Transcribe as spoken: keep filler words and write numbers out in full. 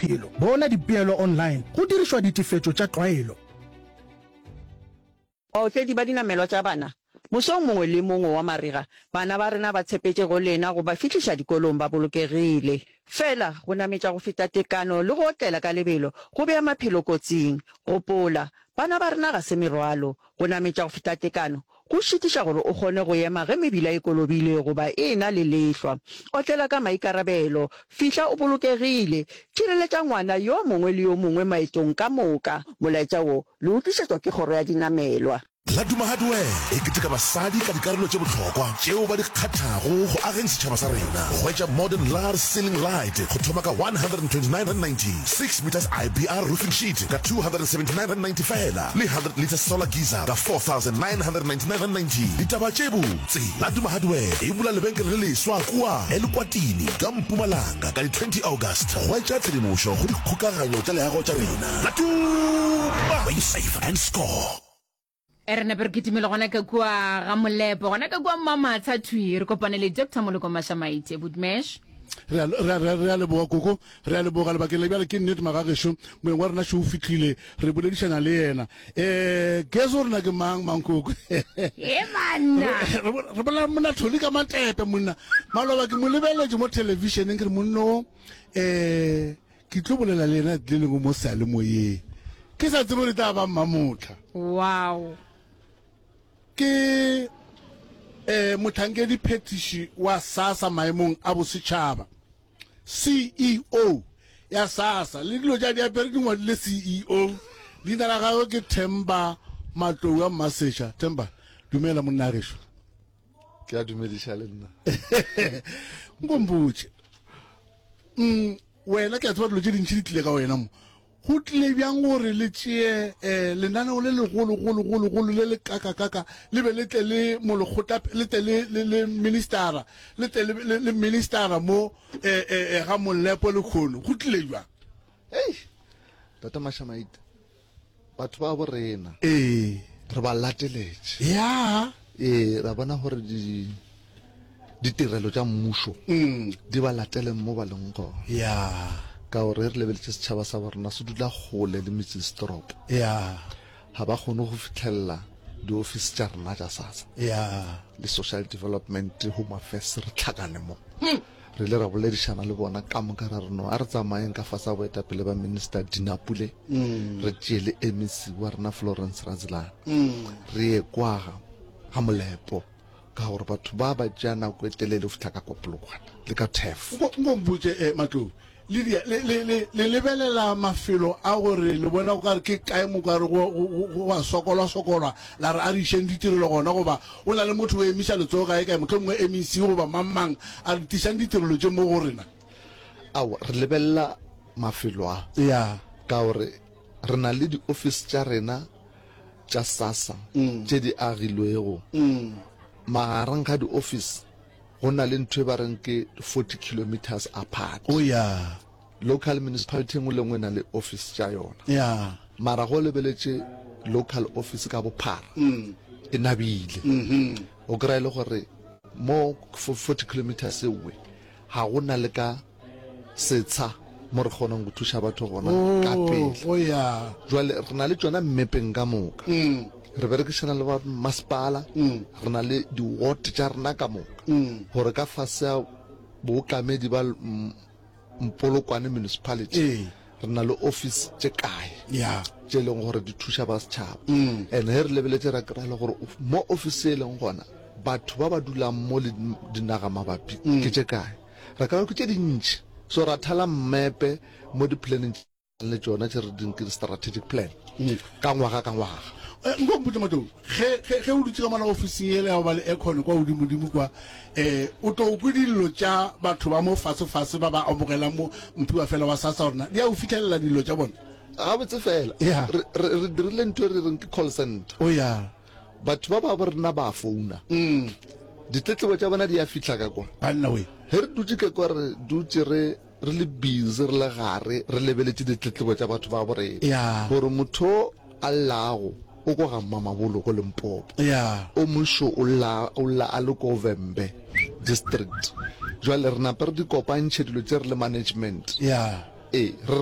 maphelo. Bona dipeelo online go dirišwa ditefetšo tša tlwaelo. Baotledi ba dinamelwa tša bana, mosong mongwe le mongwe wa marega, bana ba rena ba tshepetše go lena go ba fihliša dikolong ba bolokegile. Fela, go nametša go feta tekano le go otlela ka lebelo go bea maphelo kotsing. Gopola, bana ba rena ga se merwalo. Go nametša go feta tekano go šitiša gore o kgone go ema ge mebila e kolobile goba e ena le lehlwa. Otlela ka maikarabelo. Fihla o bolokegile. Tšhireletša ngwana yo mongwe le yo mongwe maetong ka moka. Molaetša wo le o tlišetšwa ke Kgoro ya Dinamelwa. Laduma Hardware e keteka basadi ka dikarolo tše bohlokwa tšeo ba di kgathago go ageng setšhaba sa rena. Hwetša modern lar ceiling light go thoma ka one hundred and twenty nine rand ninety, six metres I B R roofing sheet ka two hundred and seventy nine rand ninety fela le hundred litre solar geyser ka four thousand nine hundred and ninety nine rand ninety. Ditaba tše botse, Laduma Hardware e bula lebenkele le leswa kua Elukwatini ka Mpumalanga ka di twenty August. Hwetša tshedimošo go dikgokaganyo tša leago tša rena. Laduma, where you save and score. E re nape re kitimele gona ka kua ga Molepo, gona ka kua Mamatsha thwi, re kopane le Doctor Moloko Mashamaite. Budmesh. Re a, re a, re a, re a leboga koko, re a leboga lebakeng la bjale. Ke nnete magagešo, moeng wa rena šo o fihlile, re boledišana le yena. Eh, guess rena ke mang mankoko? E banna. Re, re, re bolela monna Tholi ka matepe monna. Maloba ke mo lebeletše mo televisioneng ke re monna o, eh, ke tlo bolela le yena le lengwe mo seyalemoyeng. Ke sa tsebe gore e tla ba mmamotla. Wow. Ke eh mohlankedi phetiši wa SASSA maemong a bosetšhaba, C E O ya SASSA, le dilo tša diapere di ngwadile C E O. Leina la gagwe ke Themba Matlou a Mmaseša. Themba, dumela monna gešo. Ke a dumediša le nna. Nkompotše. Mm, wena ke a tseba dilo tše dintši di tlile ka wena mo. Go tlile bjang gore le tšee eh, lenaneo le legolo-golo-golo-golo le le kaka-kaka le be le tle le molekgotla, le tle le, le, le ministara, le tle le, le, le ministara mo eh, eh, eh, ga Molepo lekhono? Go tlile bjang? Hei, Tata Mashamaite, batho ba bo rena Ee. re ba lateletše. Ya. Ee, ra bona gore di, ditirelo tša mmušo Mm. di ba latele mo ba leng gona. Ya. Ka gore re lebeletše setšhaba sa borena se dula kgole le metsesetoropo. Ya. Ga ba kgone go fitlhelela diofisi tša rena tša SASSA. Ya. Le social development, home affairs, re tlhakane mo. Re ile ra boledišana le bona ka moka ra re no a re tsamayeng ka fase ga boetapele ba Minister Dina Pule. Mm. Re tšee le M E C wa rena Florence Radzilane. Mm. Re ye kwa ga, ga Molepo ka gore batho ba ba tšea nako e telele go fihla ka kwa Polokwane le ka Turf. Nko, nko mpotše, eh, Matlou, le dia, le, le, le, le lebelela mafelo a gore le bona go ka re ke kae mo ka re go, go, go, go a sokolwa, sokolwa, la re a re išeng ditirelo gona, goba o na le motho o emiša letsogo kae kae, mohlomongwe M E C goba mang mang, a re tišang ditirelo tše mo go rena? Aowa, re lebelela mafelo a. Ya. Ka gore re na le di-office tša rena tša SASSA Mm. tše di agilwego. Mm. Magareng ga di-office go na le ntho e ba reng ke forty kilometers apart. Oh, yeah. Local municipality e nngwe le nngwe e na le office tša yona. Yeah. Mara go lebeletše local office ka bophara, Mm. e nabile. Mm-hmm. O kry-a e le gore mo forty kilometers ewe ga go na le ka setsha mo re kgonang go thuša batho gona ka Oh, pele. oh, yeah. Jwale re na le tšona mmepeng ka moka. Mm. Re berekišana le ba masepala, Mm. re na le di-ward tša rena ka moka. Mm. Gore ka fase ya bookamedi ba M-, Mpolokwane municipality, Ee. re na le office tše kae Yeah. tše e leng gore di thuša ba setšhaba. Mm. And he re lebeletše ra kry-a le gore mo office e leng gona batho ba ba dulang mo le dinaga mabapi Mm. ke tše kae, ra kry-a ke tše dintši. So ra thala mmepe mo di-planning le tšona tše re ding ke strategic plan Mm. ka ngwaga ka ngwaga. Eh, nko mpotše Matlou, ge, ge, ge o dutše ka mola ofising yela ya go ba le aircon kwa godimodimo kwa, eh, o tlo kwe dillo tša batho ba mo fasefase ba ba amogelang mo mphiwa fela wa SASSA gore na di a o fitlhelela dillo tša bona? Gabotse fela. Yeah. Re, re, re dirile ntho e re reng ke call center. Oh, yeah. Batho ba ba bo rena ba founa. Mm. Ditletlebo tša bona di a fihla ka kwa. Banna we. Ge re dutše ka kwa re dutše re, re le busy, re le gare, re lebeletše ditletlebo tša batho ba bo rena. Yeah. Gore motho a llago o ko ga Mmamabolo ko Limpopo. Yeah. O mošo o lla, o lla a le ko Vhembe district. Jwale re nape re di kopantšhe dilo tše re le management. Yeah. Ee, re re